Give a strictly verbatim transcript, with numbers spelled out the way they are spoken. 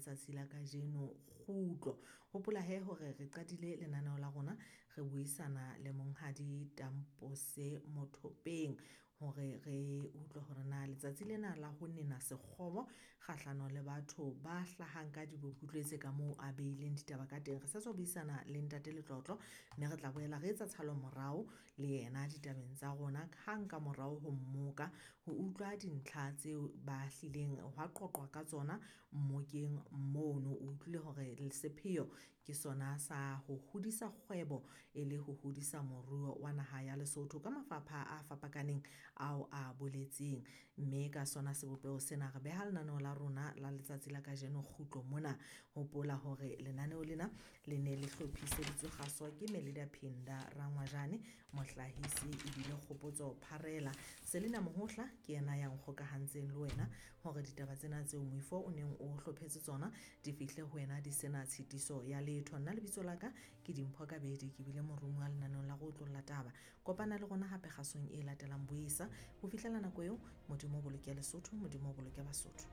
letsatsi la kajeno kgutlo. Hopola he hore re qadile lenaneo la rona re buisana le monghadi Tampose Mothopeng hore re utlwe hore na letsatsi lena la ho nena sekgobo kgahlano le batho ba hlahang ka utlwetse ka moo a beileng ditaba ka teng. Re sa tswa buisana le ntate Letlotlo mme re tla boela re etsa tshalo morao le yena ditabeng tsa rona hang ka morao ho mmoka ho utlwa dintlha tseo ba hlileng hwa qoqwa ka tsona mmokeng mono. O utlwile hore sepheo ke sona sa ho hodisa kgwebo e le ho hodisa moruo wa naha ya Lesotho ka mafapha a fapakaneng ao a boletseng. Mme ka sona sebopeho sena re beha lenaneo la rona la letsatsi la kajeno kgutlo mona. Hopola hore lenaneo lena le ne le hlophiseditswe kgaso ke Melida Phinda Rangwajane, mohlahisi ebile Kgopotso Pharela. Selina Mohohla ke yena ya nkgokahantseng le wena hore ditaba tsena tseo moifo o neng o hlophetse tsona di fihle ho wena di sena tshitiso ya letho. Nna lebitso la ka ke Dimpho Kabedi, ke bile moromuwa lenaneong la Re Otlolla Taba. Kopana le rona hape kgasong e latelang boisa. Ho fihlela nako eo, Modimo o boloke Lesotho, Modimo o boloke Basotho.